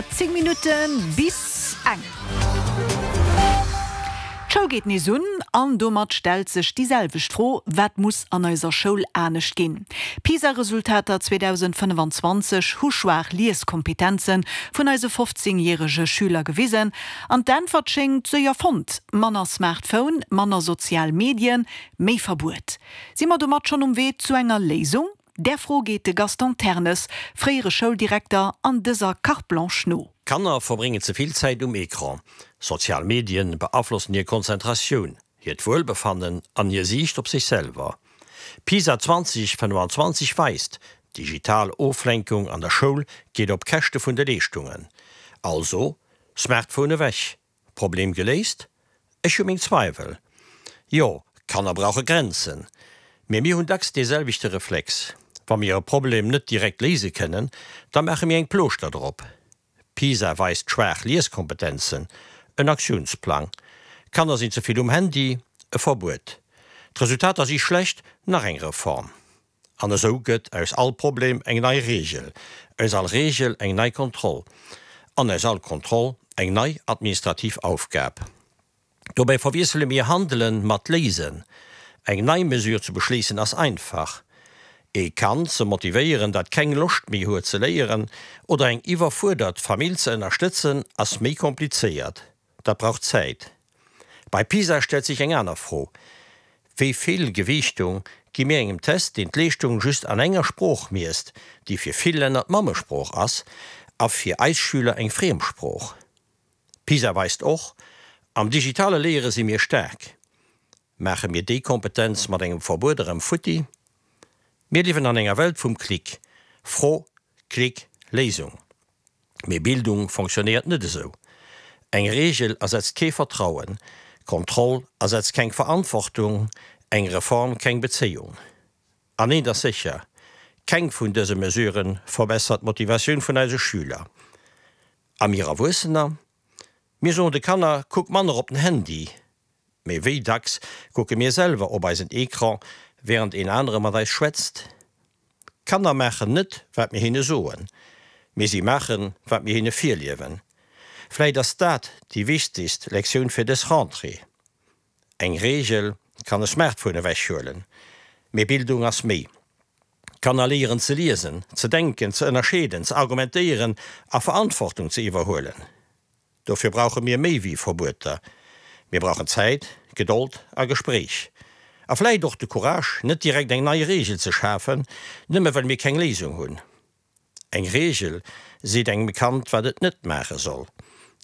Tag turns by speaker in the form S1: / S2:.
S1: 10 Minutte bis eng. D'Schoul geet nees un an domat stellt sech déi selwecht Fro, Wat muss an eiser Schoul anescht ginn? D'PISA-Resultater 2025 hu schwaach Lieskompetenze vun eise 15 järege Schüler gewisen. An d'Äntwert schéngt séier fonnt, Manner Smartphone, manner sozial Medien, méi Verbuet. Si mer domat schonn um Wee zu enger Léisung? Där Fro geet de Gaston Ternes, fréiere Schouldirekter, an dëser Carte Blanche no.
S2: Kanner verbréngen ze vill Zäit um Ecran. Sozial Medien beaflossen hir Konzentratioun, hiert Wuelbefannen an hir Siicht op sech selwer. PISA 2025 weist, Digital Oflenkung an der Schoul geet op Käschte vun de Leeschtungen. Also, Smartphone ewech, Problem geléist? Ech hu meng Zweiwel. Jo, Kanner brauche Grenzen. Mee mir hunn dacks dee selwechte Reflex, Wa mir e Problem net direkt léise kënnen, da maache mir eng Plooschter drop. PISA weist schwaach Lieskompetenzen, en Aktiounsplang. Kanner sinn ze vill um Handy, e Verbuet. D'Resultater si schlecht, nach eng Reform. An esou gëtt aus all Problem eng nei Reegel, aus all Reegel eng nei Kontroll an aus all Kontroll eng nei administrativ Aufgab. Dobäi verwiessele mir Handelen mat Léisen. Eng nei Mesure ze beschléissen ass einfach. Ee Kand ze motivéieren, dat keng Loscht méi huet ze léieren, oder eng iwwerfuerdert Famill ze ënnerstëtzen, ass méi komplizéiert. Dat brauch Zäit. Bei PISA stellt sech eng aner Fro, Wéi vill Gewiichtung gi mir engem Test, deen d'Leeschtung just an enger Sprooch miesst, déi fir vill Länner d'Mammesprooch ass a fir eis Schüler eng Friemsprooch? PISA weist och, Am digitale Léiere si mir staark. Maache mir déi Kompetenz mat engem Verbuet erëm futti? Mir liewen an enger Welt vum Klick. Fro, Klick, Léisung. Mee Bildung fonctionnéiert net esou. Eng Reegel ersetzt kee Vertrauen, Kontroll ersetzt keng Verantwortung, eng Reform keng Bezéiung. An eent ass sécher, Keng vun dëse Mesurë verbessert d'Motivatioun vun eise Schüler. A mir Erwuessener? Mir soen de Kanner, Kuck manner op den Handy. Mee wéi dacks kucke mir selwer op eisen Ecran, wärend een anere mat eis schwätzt? Kanner maachen net, wat mir hinne soen, mee si maachen, wat mir hinne virliewen. Vläit ass dat déi wichtegst Lektioun fir dës Rentrée. Eng Reegel kann e Smartphone ewechhuelen, mee Bildung ass méi. Kanner léieren ze liesen, ze denken, ze ënnerscheeden, ze argumentéieren a Verantwortung ze iwwerhuelen. Dofir brauche mir méi wéi Verbueter. Mir brauchen Zäit, Gedold a Gespréich. A vläit och de Courage, net direkt eng nei Reegel ze schafen, nëmme well mir keng Léisung hunn. Eng Reegel seet engem Kand, wat et net maache soll.